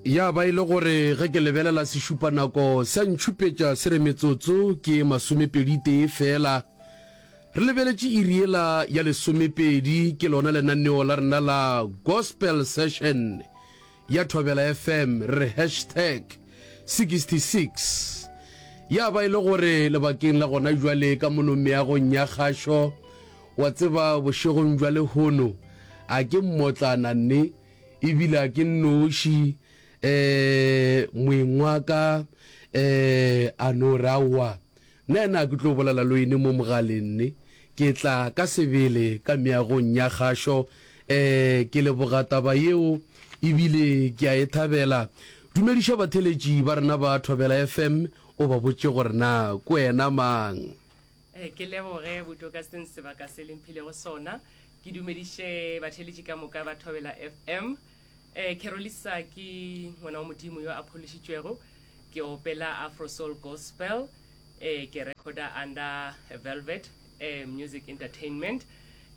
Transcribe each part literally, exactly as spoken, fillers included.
Ya ba e le gore ge ke lebelela sešupanako sa ntšhupetša se re metsotso ke masomepedi tee fela. Re lebeletše iri yela ya lesomepedi, ke lona lenaneo la rena la Gospel Session ya Thobela F M, re re hashtag sixty-six. Ya ba e le gore lebakeng la gona jwale ka mono meagong ya kgašo, wa tseba, bošegong bja lehono a ke mmotlana nne, ebile a ke nnoši. um moeng wa ka um a no re aowa, nna ena a ke tlo bolela le wene mo mogaleng nne, ke tla ka sebele ka meagong ya kgašo. um ke leboga taba yeo ebile ke a e thabela. Dumediša batheletši ba rena ba Thobela F M, o ba botše gore na ke wena mang. Eh, ke leboge botoka seng sebaka se le mphilego sona. Ke dumediše batheletši ka moka ba Thobela F M. eh, Carolisa ke ngwana wa Modimo yo a phološitšwego. Ke opela Afro Soul Gospel. eh, ke recorda under Velvet eh, Music Entertainment.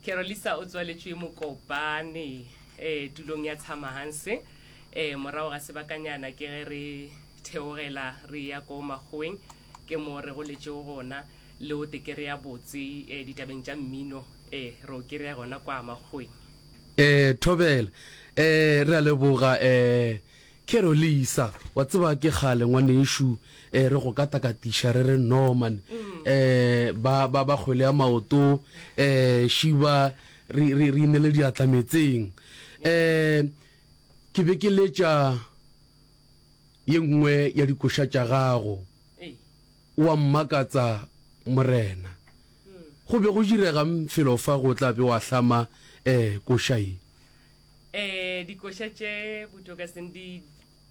Carolisa o tswaletšwe Mokopane, eh, tulong ya Tshamahanse. eh, morago ga sebakanyana ke ge re theogela re ya ko makgoweng, ke mo re goletšego gona le o tekere ya botse eh, ditabeng tša mmino, eh, re o kry-a gona kwa makgoweng. eh thobela eh re a leboga, eh Carolisa. Wa tseba, ke kgale ngwanešu eh re go katakatiša, re re Norman eh ba ba ba kgwele ya maoto, eh šiba re re re inele diatla metseng. eh ke be ke letša ye nngwe ya dikoša tša gago, Ei. Wa mmakatsa Morena. Go be go diregang felo fa go tla be wa hlama eh koša ye? eh dikoša tše botoka seng di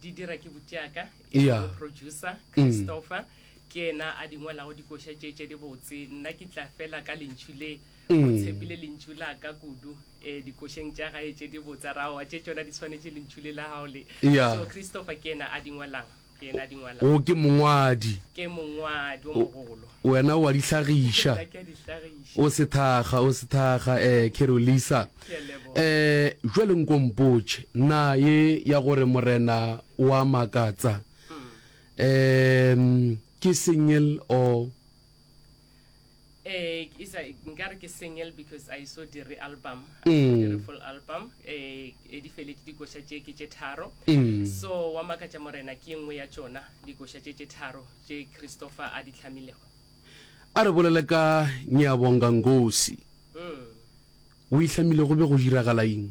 di dira ke butiaka e Yeah. lego producer Christopher, ke yena a di ngwalago dikoša tše tše di botse. Nna ke tla fela ka lentšu le o tshepile lentšu la ka kudu um dikošeng tša gae tše di botse raoa tše tšona di tshwanetše lentšu le la gago le. Yeah. So Christopher ke yena a di ngwalang, ke yena a di ngwalang. O ke mongwadi. Ke mongwadi o mogolo. Wena wa di hlagiša. Nna ke a di hlagiša. O sethaga, o sethaga, eh Carolisa. Ke a leboga. eh jwale nko mpotše na ye ya gore Morena wa makatsa um ke single or? eh e sa nkare ke single because I so dire album, I so dire full album. eh e di feletše dikoša tše ke tše tharo. Mm. So Wa Makatša Morena ke nngwe ya tšona dikoša tše tše tharo tše Christopher a di hlamilego. A re bolele ka Ngiyabonga Nkosi. mm. O e hlamile go be go diragala eng?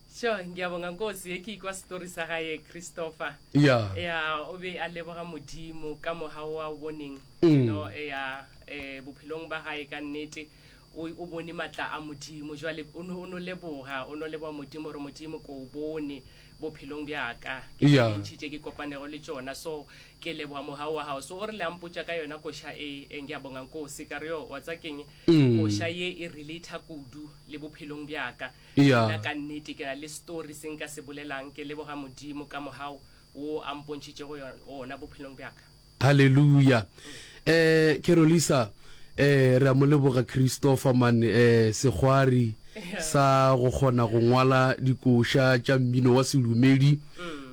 Sure, Ngiyabonga Nkosi ye ke ikwa story sa gae Christopher. Ya ya o be a leboga Modimo ka mogao wa o boneng. Mm. No ya eh bophelong ba gae ka nnete o o bone matla a Modimo. Jwale o no o no leboga, o no leboga Modimo gore Modimo ko o bone bophelong bjaka, ke tše Yeah. dintši tše ke kopanego le tšona, so ke leboga mogao wa gago. So o re le ampotša ka yona koša e e Ngiyabonga Nkosi, ka re yo wa tsa keng, Mm. koša ye e relata kudu le bophelong bjaka. Yeah. Nna ka nnete ke na le story se nka se bolelang, ke leboga Modimo ka mogao wo a mpontšhitšego yona- ona bophelong bjaka. Halleluja. eh Carolisa, eh re a mo leboga Christopher man, eh sekgwari sa go kgona go ngwala dikoša tša mmino wa sedumedi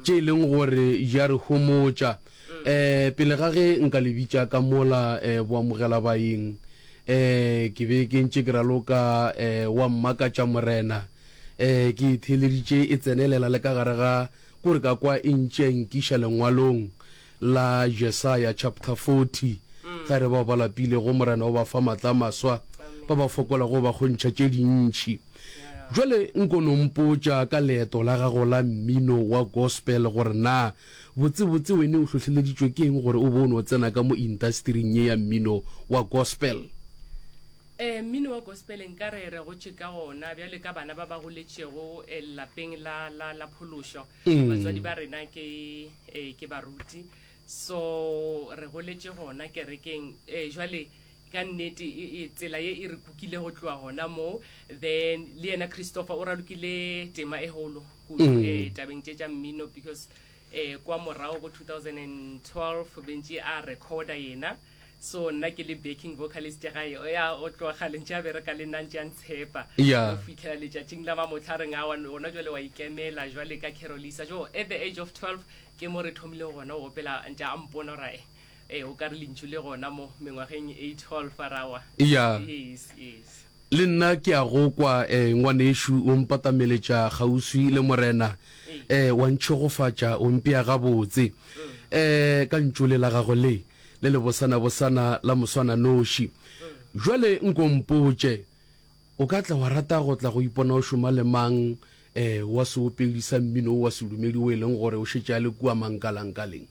tše e leng gore di a re homotša. eh pele ga ge nka le bitša ka mola eh boamogela baeng, eh ke be ke ntše ke raloka eh Wa Mmakatša Morena. eh ke e theeleditše e tsenelela le ka gare ga kore ka kwa e ntše nkiša lengwalong la Jesaya chapter forty, ge re bao ba lapilego Morena o ba fa matla a maswa, ba ba fokolago o ba kgontšha tše dintši. Jwale nko no mpotša ka leeto la gago la mmino wa gospel, gore na botsebotse wene o hlohleleditšwe ke eng gore o be o no tsena ka mo industering ye ya mmino wa gospel? um mmino wa gospel nka re re gotše ka gona bjale ka bana ba ba goletšego eh, lapeng la, la, la phološo. Mm. Batswadi ba rena ke eh, ke baruti, so re goletše gona kerekeng. eh, jwale ka nnete e- e- tsela ye e re kukile go tloa gona moo. Then le yena Christopher o ralokile tema e golo kudu Mm. eh, tabeng tše tša mmino, because eh, kwa morago go twenty twelve bentše a recorda yena. So nna ke le backing vocalist ya gae, ya o tloga kgale ntše a bereka le nna, ntše a ntshepa. Yeah. Go fitlhela letšatšing la mamotlha reng awa gona jwale wa ikemela jwale ka Carolisa. Jo at the age of twelve ke mo re thomile gona go opela, ntše a mpona gore eh o ka re lentšu le gona mo mengwageng e twelve a rawa. Yeah. Yes, yes. Le nna ke a go kwa, eh, ngwanešu, o mpatameletša kgauswi le Morena, eh, wa ntšhegofatša, o mpea gabotse, eh, ka ntšu le la gago le, le lebosanabosana la moswananoši. Jwale nko mpotše, o ka tla wa rata go tla go ipona o šoma le mang, eh, wa seopedi sa mmino wo wa sedumedi wo e leng gore o šetše a le kua mankalankaleng?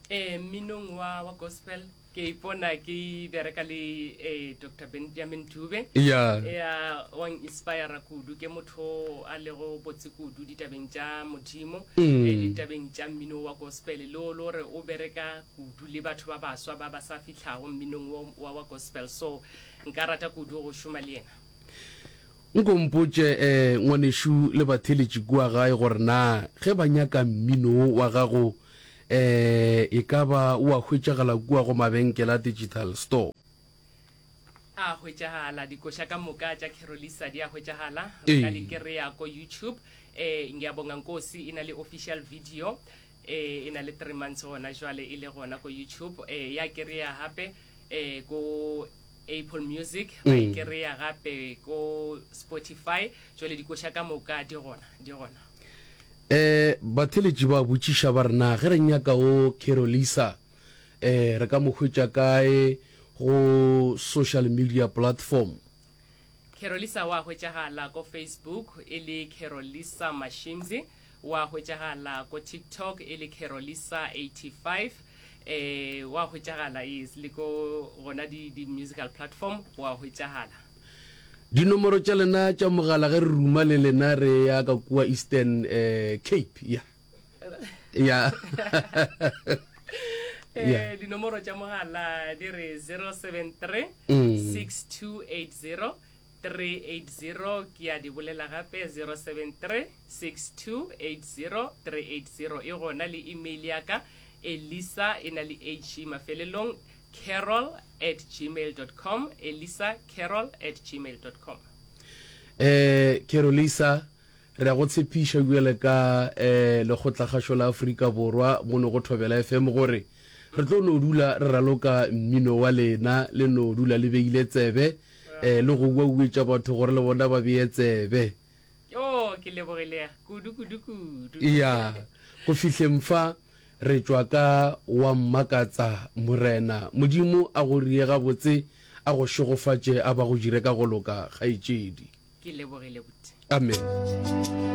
Eh, mminong wa, wa gospel ke ipona ke bereka le eh, Doctor Benjamin Dube. Ya. Ya, wa inspire kudu, ke motho a lego botse kudu ditabeng tša Modimo, Mm. eh, ditabeng tša mmino wa gospel, le o le gore o bereka kudu le batho ba baswa ba ba sa fihlago mminong wa, wa, wa gospel. So nka rata kudu go šoma le yena. Nko mpotše, eh, ngwanešu le batheletši kua gae gore na ge ba nyaka mmino wa gago, eh, e ka ba o a hwetšagala kua go mabenkele a digital store? A hwetšagala, dikoša ka moka tša Carolisa di a hwetšagala, re ka Ee. di kry-a ko YouTube. eh Ngiyabonga Nkosi e na le official video, eh e na le three months gona jwale e le gona ko YouTube. eh ya kry-a gape eh ko Apple Music, ba e Mm. kry-a gape ko Spotify. Jwale dikoša ka moka di gona, di gona. Eh, batheletši ba botšiša ba re na ge re nyaka o Carolisa, eh, re ka mo hwetša kae go social media platform? Carolisa wa hwetšagala ko Facebook e le Carolisa Mashimzi, wa hwetšagala ko TikTok e le Carolisa eighty-five, eh wa hwetšagala yes le ko gona di, di musical platform wa hwetšagala. Dinomoro tša lena tša mogala ge re ruma le lena re ya ka kua Eastern eh, Cape. Ya. Ya. Eh dinomoro tša mogala di re zero seven three Mm. six two eight zero three eight zero, ke a di bolela gape zero seven three six two eight zero three eight zero. E gona le email ya ka Elisa e na le H mafelelong, carol at gmail dot com, Elisa carol at gmail dot com. Eh Carolisa, re a go tshepiša bjale ka eh lekgotlakgašo la Afrika Borwa mono go Thobela F M gore re tlo no dula re raloka mmino wa lena, le no dula le beile tsebe, eh le go uauetša batho gore le bona ba bee tsebe. Oh, ke lebogile kudu kudu kudu. Ya, go fihleng fa re tšwa ka wa mmakatsa Morena. Modimo a go rie gabotse, a go šegofatše, a ba go dire ka go loka, kgaetšedi. Ke lebogile buti. Amen.